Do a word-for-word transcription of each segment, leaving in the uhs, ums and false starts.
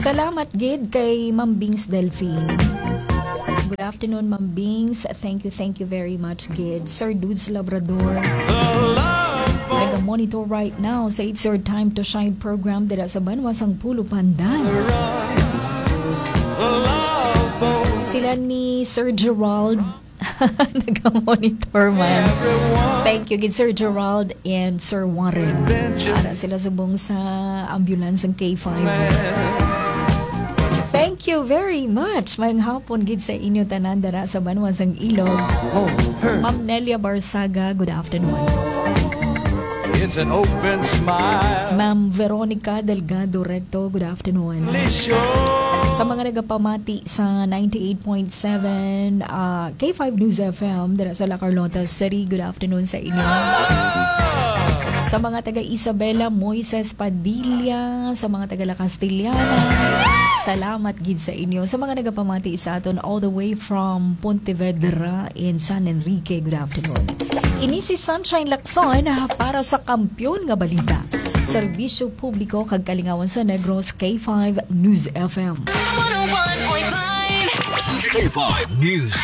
Salamat gid kay Ma'am Bings Delphine. Good afternoon, Ma'am Bings. Thank you, thank you very much gid. Sir Dudes Labrador. Nag-monitor right now sa It's Your Time to Shine program dira sa Banwa sang Pulo Pandan. Sila ni Sir Gerald. Nag-monitor man. Thank you gid, Sir Gerald and Sir Warren. Ara sila subong sa ambulance ang K five. Thank you very much. Mayong hapon gid sa inyo tanan dara sa Banwa sang Ilog. Ma'am Nelia Barsaga, good afternoon. It's an open smile. Ma'am Veronica Delgado Recto, good afternoon. Sa mga nagapamati sa ninety-eight point seven, ah, K five News F M, dira sa La Carlota City, good afternoon sa inyo. Sa mga taga Isabela, Moises Padilla, sa mga taga La Castellana, salamat gid sa inyo. Sa mga nagapamati sa aton all the way from Pontevedra in San Enrique, good afternoon. Ini si Sunshine Lacson, ah, para sa Kampiyon nga Balita, Serbisyo Publiko kag Kalingawan sa Negros, K five News F M. One oh one point five. K five News.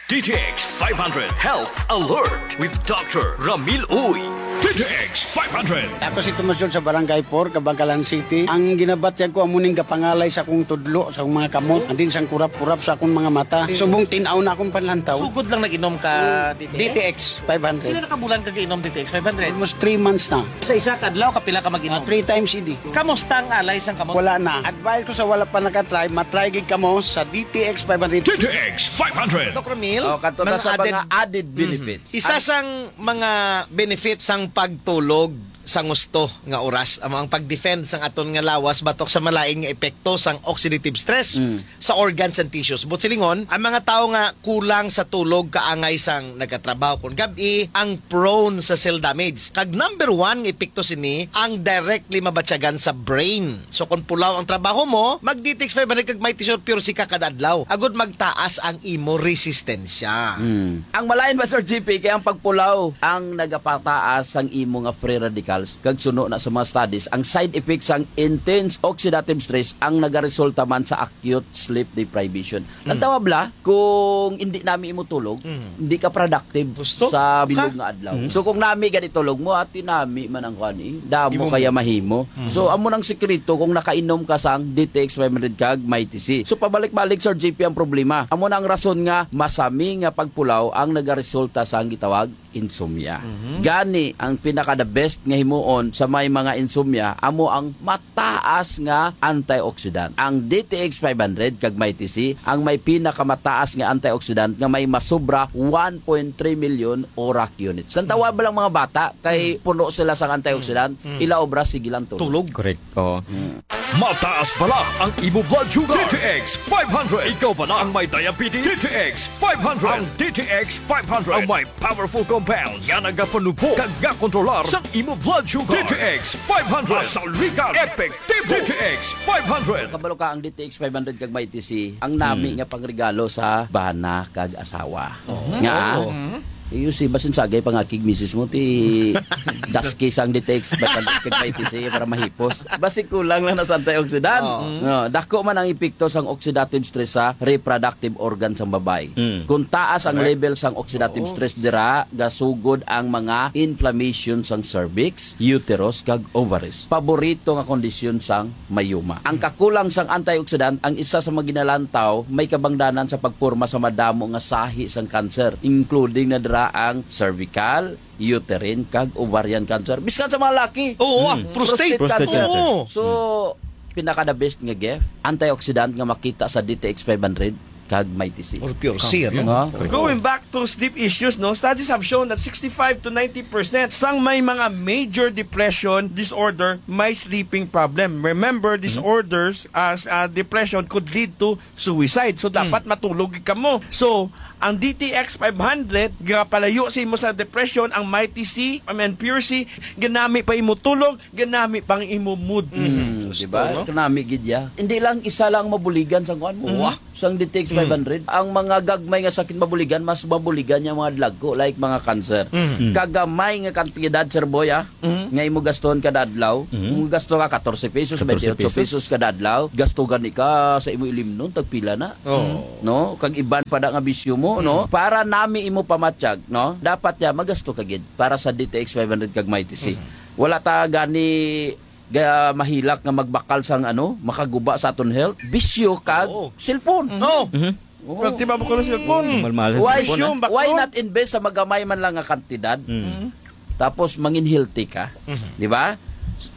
D T X five hundred Health Alert with Doctor Ramil Uy. D T X five hundred. Ako si Tomas Yun sa Barangay four, Kabankalan City. Ang ginabatyag ko amo ning gapangalay sa akong tudlo, sa akong mga kamot, and din sang kurap-kurap sa akong mga mata. Subong tin-aw na akong panlantaw. Sugod lang nag-inom ka D T X? D T X five hundred. Pila na ka bulan ka gainom D T X five hundred? Almost three months na. Sa isa ka adlaw, kapila ka mag-inom? Ah, three times a day. Kamusta ang alay sang kamot? Wala na. Advice ko sa wala pa nakatry, matry gid kamo sa D T X five hundred. D T X five hundred. Doc Ramil, Oh, kato na mga sa added mga added Mhm. benefits. Isa Ang sang mga benefits sang pagtulog sa gusto nga oras, amo ang pag-defend sang aton nga lawas batok sa malain nga epekto sang oxidative stress Mm. sa organs and tissues. But silingon, ang mga tawo nga kulang sa tulog kaangay sang nagatrabaho kon gab-i ang prone sa cell damage. Kag number one nga epekto sini ang directly mabatyagan sa brain. So kung pulaw ang trabaho mo, mag D T X five hundred kag Mighty Sure Pure C ka kada adlaw. Agud magtaas ang imo resistensya. Hmm. Ang malain ba, Sir G P, kay ang pagpulaw ang nagapataas sang imo nga free radicals, kag suno na sa mga studies, ang side effects sang intense oxidative stress ang nagaresulta man sa acute sleep deprivation. Ang Mm. tawag bala, kung hindi nami imo tulog, Mm. hindi ka productive Gusto? sa bilog Ka? nga adlaw. Mm. So kung nami gani tulog mo, ati nami man ang kuan eh. Damo Imo kaya mo. mahimo. Mm. So amo nang sikreto kung nakainom ka sang D T X five hundred kag Mighty C. So pabalik-balik, Sir G P, ang problema. Amo na ang rason nga masami nga pagpulaw ang nagaresulta sang gitawag insomnia. Mhm. Gani, ang pinaka the best nga himuon sa may mga insomnia amo ang mataas nga antioxidant. Ang D T X five hundred kag Mighty C ang may pinakamataas nga antioxidant nga may masobra one point three million ORAC units. Ang tawag ba lang mga bata kay Mm. puno sila sa antioxidant, Mm. ila obra sige lang tulog. Tulog. Correct. Oo. Mm. Mataas bala ang imo blood sugar. D T X five hundred. Ikaw bala ang may diabetes. D T X five hundred. Ang D T X five hundred ang may powerful compounds nga nagapanubo kag nga kontrolar sa imo blood sugar. D T X five hundred. Masaligan. Epektibo. D T X five hundred. Kabalo ka ang D T X five hundred kag Mighty C, ang nami Hmm. nga pangregalo sa bana kag asawa. Oo. Nga, Oo. eh, you see, basin sagay pangakig misis mo, ti daski sang D T X five hundred kag Mighty C para mahipos. Basi kulang lang na sa antioxidants. Oo. No, dako man ang epekto sang oxidative stress sa reproductive organ sang babayi. Mm. Kung taas ang Correct. level sang oxidative Oo. stress dira, gasugod ang mga inflammation sang cervix, uterus, kag ovaries. Paborito nga kondisyon sang myoma. Ang kakulang sang antioxidant ang isa sa mga ginalantaw may kabangdanan sa pagporma sa madamo nga sahi sang cancer, including na dira ang cervical, uterine, kag ovarian cancer. Biskan sa mga laki. Oo, ah, Mm. prostate. Prostate Prostate cancer. cancer. Oo. So, pinaka the best nga gift, antioxidant nga makita sa D T X five hundred kag Mighty C. Or Pure C, ano? Nga. Correct. Going back to sleep issues, no? Studies have shown that sixty-five to ninety percent sang may mga major depression disorder may sleeping problem. Remember, Mhm. disorders as, uh, depression could lead to suicide. So, Mm. dapat matulog ka mo. So, Ang D T X five hundred, gapalayo sa imo sa depression. Ang Mighty C, I mean, Pure C, ganami pa imo tulog, ganami pang imo mood. Mm, Gusto, di ba? no? Kanami gid ya. Hindi lang isa lang mabuligan sa kuan mo. Mhm. Wah, sang D T X Mm. five hundred. Ang mga gagmay nga sakit mabuligan, mas mabuligan yung mga dagko, like mga cancer. Mm. Kagamay nga kantidad, Sir Boy, ah, Mm. nga imo gaston kada adlaw. Mm. Kung gasto ka katorse pesos, Katorse twenty-eight pesos. pesos kada adlaw, gasto gani ka sa imo ilimnon, tagpila na. Oo. No? Kag iban pa da nga bisyo mo, no? Mm. Para nami imo pamatyag, no? Dapat ya magasto ka gid para sa D T X five hundred kag Mighty C. Mhm. Wala ta gani ga mahilak nga magbakal sang ano, makaguba sa aton health, bisyo kag Oo. cellphone. No. Mhm. Oo. Pagtiba mo ko ng cellphone. Malmahal sa Why, cellphone, Bisyo, ah. why baklo? not invest sa magamay man lang nga kantidad? Mm. Tapos mangin healthy ka, Mhm. di ba?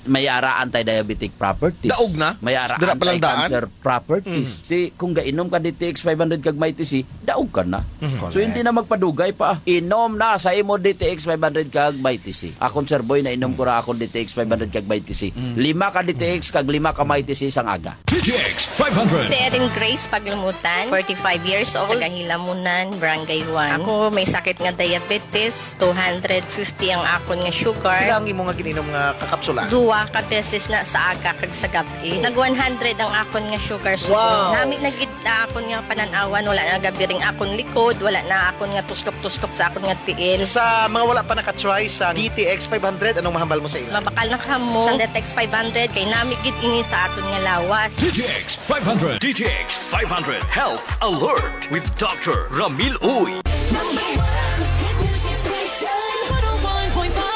May ara anti-diabetic properties. Daog na. May ara Dira pa lang daan. anti-cancer properties. Mhm. Di, kung gainom ka D T X five hundred kag Mighty C, daog ka na. Mhm. So, Correct. hindi na magpadugay pa. Inom na sa imo D T X five hundred kag Mighty C. Akon, Sir Boy, nainom ko ra akon D T X five hundred kag Mighty C. Mhm. Lima ka D T X kag lima ka Mighty C sang aga. D T X five hundred. Si Erin Grace Paglumutan, forty-five years old, taga Hilamunan, Barangay one. Ako may sakit nga diabetes, two hundred fifty ang akon nga sugar. Pila ang imo nga gininom nga kakapsula? Duwa ka beses na sa aga kag sa gab-i. Nag one hundred ang akon nga sugar. So, Wow! nami na gid na akon nga panan-awan, wala na gabiring akon likod, wala na akon nga tustok-tustok sa akon nga tiil. Sa mga wala pa nakatry sa D T X five hundred, anong mahambal mo sa ila? Mabakal na kamo sa D T X five hundred, kay nami gid ini sa aton nga lawas. D T X five hundred. D T X five hundred Health Alert with Doctor Ramil Uy. Number one hit music station, one oh one point five.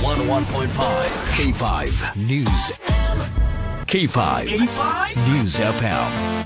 One oh one point five K five News. K five K five News F M.